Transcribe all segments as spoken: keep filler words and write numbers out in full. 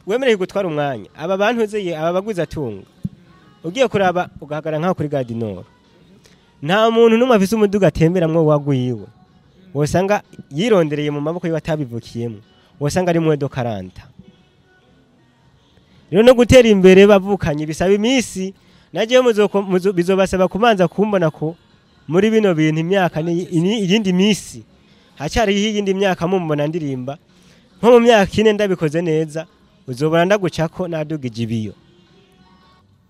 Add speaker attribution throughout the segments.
Speaker 1: Wemereye gutwara umwanya aba bantu uzeye, aba baguze atunga, ugiye kuraba ugahagarara nkaho kuri Gare du Nord, nta muntu n'umwe afise umuduga atemberamwo wagwiwe, wosanga yirondereye mu maboko yiwe atabivukiyemo, wosanga ari moins de quarante. Rero no gutera imbere bavukanye bisaba iminsi. Najewe muzoko- muzo- bizobasaba kumanza kumbona ko muri bino bintu imyaka ni ni- iyindi minsi, hacyariho iyindi myaka mumbona ndirimba. Nko mu myaka ine ndabikoze neza, uzobona ndagucako nadugije ibiyo.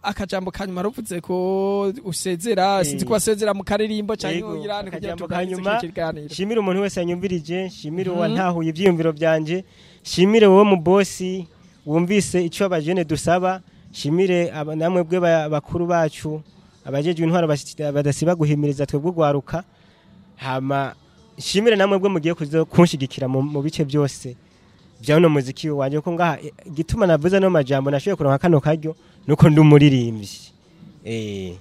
Speaker 2: Akajambo kanyuma, ruvuze ko usezera, sinzi ko wasezera mu karirimbo cyangwa
Speaker 1: Yego,
Speaker 2: uyirane kugira
Speaker 1: akajambo
Speaker 2: tuganirize
Speaker 1: kanyuma.
Speaker 2: kino kiganiro.
Speaker 1: Shimire umuntu wese yanyumvirije, shimire
Speaker 2: Mhm.
Speaker 1: uwantahuye ivyiyumviro byanje, shimire wowe mu bosi wumvise icyo abajene dusaba, shimire aba- namwe bwe ba- bakuru bacu abajejwe intwaro basi- badasiba guhimiriza twebwe ugwaruka. Hama shimire namwe bwe mugiye kuzo kunshigikira mu, mu bice byose bya uno muziki wanje, ko ngaha eh, igituma navuze no majambo, nashoboye kuronka kano karyo nuko ndi umuririmbyi eh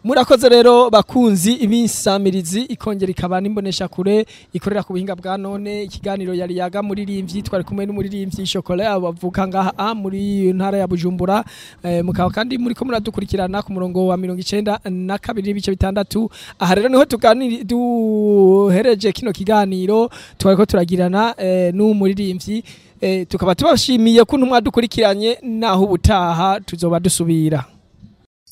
Speaker 2: Murakoze rero bakunzi ibinsamirizi, ikongera ikaba n'imbonesha kure ikorera ku buhinga bwa none. Ikiganiro yari yaga muririmbyi, twari kumwe n'umuririmbyi Chocolat abavuka ngaha a muri ntara ya Bujumbura. eh, mukaba kandi muri ko muradukurikirana ku murongo wa mirongo icenda na kabiri n'ibice bitandatu. Aha rero niho tuganiri duhereje kino kiganiro twari ko turagirana eh, n'umuririmbyi. eh, tukaba tubashimiye ko mwadukurikiranye, naho ubutaha tuzoba dusubira.